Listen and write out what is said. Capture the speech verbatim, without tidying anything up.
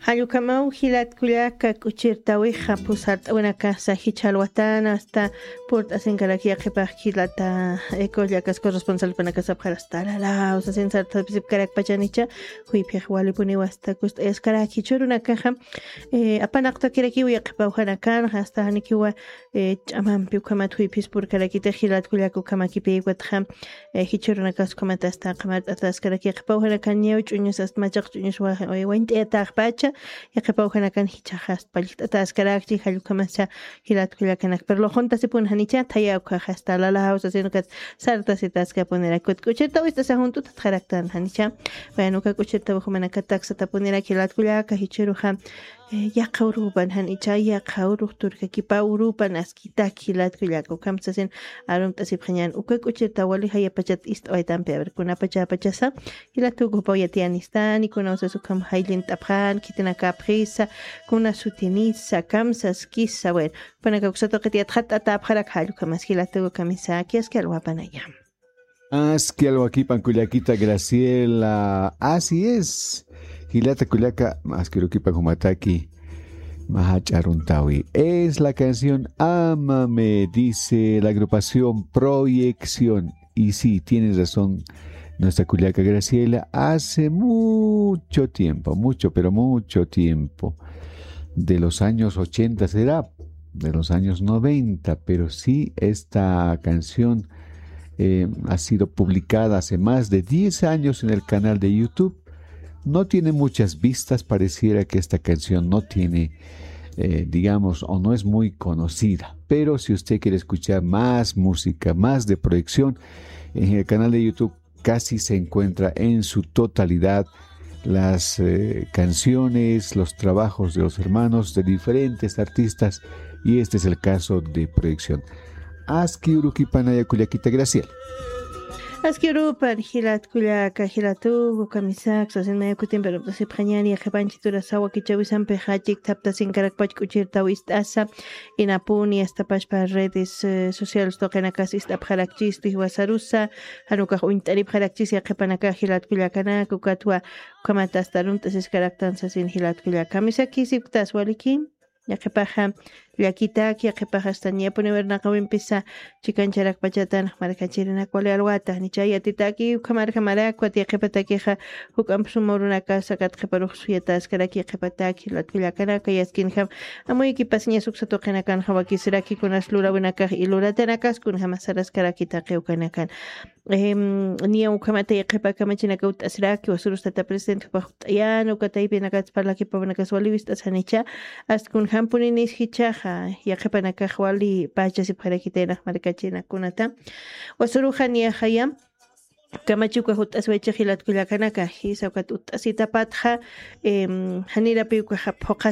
Jall ukhamaw jilat kullaka k'uchirtawixa, pusart'awinakasa jichha alwatana, asta purt'asinkarak yaqhipax jilata, eh, kullakas corresponsalpanakas apxar asta lalaw sasin sart'asipkarakpachanicha, juyphix walipuniwa asta kust'ayaskarak jichhürunakaxa, eh, apanaqtakirakiw yaqhipaw janakanxa, asta janikiwa, eh, ch'amampi ukhamat juyphis purkarakitix jilat kullaka ukhamakipï ukatxa, eh, jichhürunakas ukhamat asta qhamart'ataskarak yaqhipaw janakan ñaw ch'uñus asta machaq ch'uñus wa-, eh, wañt'ayataxpacha, yaqhipaw janakan jichhaxa asta pallt'ataskarakchi, jall ukhamasa jilat kullakanak. Pero luxuntasipun janicha, thaya ukhaxa asta lalaw sasin ukat sartasitaskapunirak, kut k'uchirtaw ist'asa junt'u tatxaraktan janicha. Bueno, uka k'uchirtaw jumanakatak satapuniraki jilat kullaka, jichhüruxa, eh, yaqha urupan janicha, yaqha urux turkakipaw urupan askitak jilat kullaka, ukham sasin arumt'asipxañän, uka k'uchirtaw wali jayapachat ist'awaytampi, a ver, kunapachapachasa, jilat uka jupaw yatiyanistani, kunaw sas ukham jayllint'apxän, khitinakapxisa, kuna sutinisa, kamsaskisa, bueno, jupanakax uksatuqit yatxatt'atäpxarak jall ukhamas jilat uka kamisaki, aski alwapanaya. Aski alwakipan kullakita Graciela. Así es. Jilata kullaka, aski urukipan jumataki. Mä jach'a aruntawi. Es la canción Ámame, dice la agrupación Proyección. Y sí, tienes razón, nuestra kullaka Graciela. Hace mucho tiempo, mucho, pero mucho tiempo. De los años ochenta será, de los años noventa, pero sí, esta canción eh, ha sido publicada hace más de diez años en el canal de YouTube. No tiene muchas vistas, pareciera que esta canción no tiene, eh, digamos, o no es muy conocida. Pero si usted quiere escuchar más música, más de Proyección, en el canal de YouTube casi se encuentra en su totalidad las, eh, canciones, los trabajos de los hermanos, de diferentes artistas, y este es el caso de Proyección. Aski urukipanaya kullakita Graciela. Aski urupan jilat kullaka, jilat uka kamisaki sasin, maya kutimpi arumt'asipxañäni, yaqhipanchiturasawa kichawisampixa chikthaptasinkarakpach k'uchirtaw ist'asa, inapuni asta pachpa redes, eh, sociales tuqinakas ist'apxarakchistu jiwasarusa, jan ukax uñt'aripxarakchis yaqhipanakax jilat kullakanaka, ukatwa ukhamat asta arumt'asiskaraktan sasin jilat kullaka. Kamisakisipktas waliki, yaqhipaxa llakitaki, yaqhipaxa asta niyapuni wirnaqawimpisa chikancharakpachatan markachirinak wali alwata, janicha yatitaki, ukhamarjamarakwat yaqhipatakixa, juk'amp suma urunakasa kat qhiparux suyataskarak yaqhipataki jilat kullakanaka, yaskinjam amuykipasiñas uksa tuqinakanxa wakisiraki kunas lurawinakax y luratanakas kunjama saraskarakitaki ukanakan. Em, niya ukhamata yaqhipa kamachinaka ut'asiraki, jiwasurus tata presidente jupax ut'ayäna, uka taypinakats parlakipawinakas wali wist'asanicha, asta kunjampuninis jichhaxa, yaqhipanakax wali pachasipxarakitaynax markachinakunata. Jiwasuruxa niyaxaya, kamachi ukax ut'asiwaychix jilat kullakanaka, jisa ukat ut'asitapatxa, em, janirapi ukaxa phuqha